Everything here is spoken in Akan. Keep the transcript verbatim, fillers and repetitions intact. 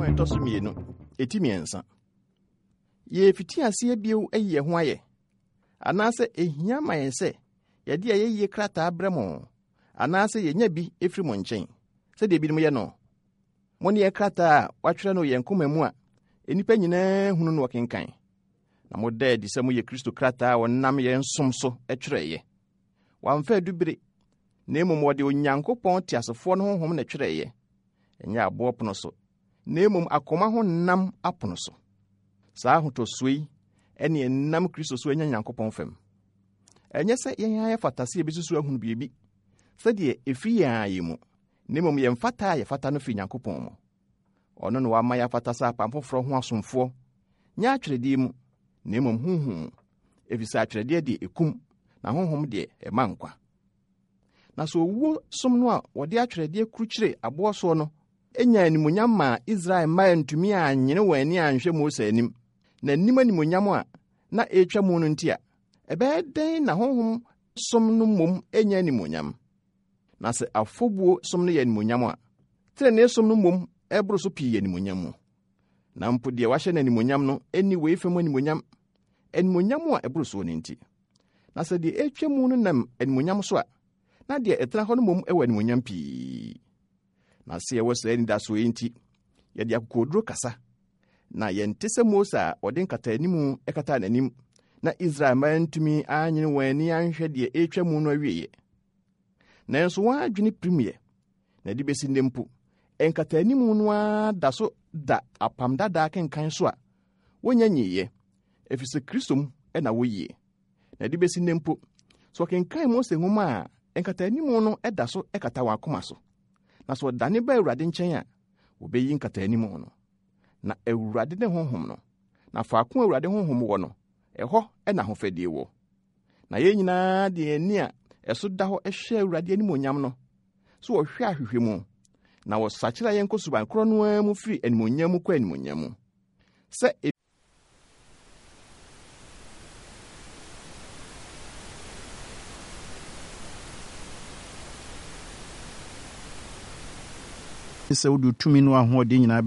Yohane ɛtɔ so mmienu, eti mmiɛnsa. Yɛrefiti aseɛ bio ayi yɛn ho ayɛ, anaasɛ ehia ma yɛn sɛ yɛde ayɛyie krataa brɛ mo, anaasɛ yɛnya bi efiri mo nkyɛn, sɛdeɛ ebinom yɛ no. Mo ne yɛn krataa a wɔatwerɛ no yɛn koma mu a nnipa nyinaa hunu no wɔkenkan. Na moda adi sɛ moyɛ Kristo krataa a wɔnam yɛn som so twerɛeɛ. Wɔamfa adubere, na mmom wɔde Onyankopɔn teasefoɔ no honhom na ɛtwerɛeɛ. Ɛnyɛ aboɔ pono so, na mmom akoma ho nam apono so. Saa ahotɔsoɔ yi ɛne ɛnam Kristo so anya Nyankopɔn fam. Ɛnyɛ sɛ yɛn ara yɛfata sɛ yɛbɛsusu ahunu biribi sɛdeɛ ɛfiri yɛn ara yɛn mu, na mmom yɛn fata a yɛfata no firi Nyankopɔn mu. Ɔno na wama yɛafata sɛ apam foforɔ ho asomfoɔ, nyɛ atwerɛdeɛ mu, na mmom honhom mu, ɛfiri sɛ atwerɛdeɛ deɛ ɛkum, na honhom deɛ ɛma nkwa. Na sɛ owuo som no a wɔde atwerɛdeɛ kurukyire aboɔ soɔ no nya animuonyam maa Israel mma antumi anyene wɔn ani anhwɛ Mose anim, na anim animuonyam a na ɛretwa mu no nti a, ɛbɛyɛ dɛn na honhom som no mmom nya animuonyam? Na sɛ afɔbuo som no yɛ animuonyam a, tenenee som no mmom ɛboro so pii yɛ animuonyam mu. Na mpo deɛ wahyɛ no animuonyam no nni wei fam animuonyam, animuonyam a ɛboro soɔ no nti. Na sɛ deɛ ɛretwa mu no nam animuonyam so a, na deɛ ɛtena hɔ no mmom wɔ animuonyam pii. Na sɛ yɛwɔ saa anidasoɔ yi nti, yɛde akokoɔduro kasa. Na yɛnte sɛ Mose a ɔde nkataanimu kataa n'anim, na Israel mma antumi anyene wɔn ani anhwɛ deɛ ɛretwa mu no awieeɛ. Nanso wɔn adwene pirimyɛ, na ɛde bɛsi nnɛ mpo, nkataanimu no ara da so da apam dadaa kenkan so a wonya nyiiɛ, ɛfiri sɛ Kristo mu na woyie. Na ɛde bɛsi nnɛ mpo, sɛ wɔkenkan Mose nwoma a, nkataanimu no da so kata wɔn akoma so. Na sɛ wɔdane ba Awurade nkyɛn a, wɔbɛyi nkataanimu no. Na Awurade ne honhom no, na faako a Awurade honhom wɔ no, ɛhɔ na ahofadie wɔ. Na yɛn nyinaa de yɛn ani a ɛso da hɔ hwɛ Awurade animuonyam no, so wɔhwɛ ahwehwɛ mu, na wɔsakyera yɛn kɔ suban korɔ no ara mu firi animuonyam mu kɔ animuonyam mu. Sɛ sɛ wode tumi no ahoɔden nyinaa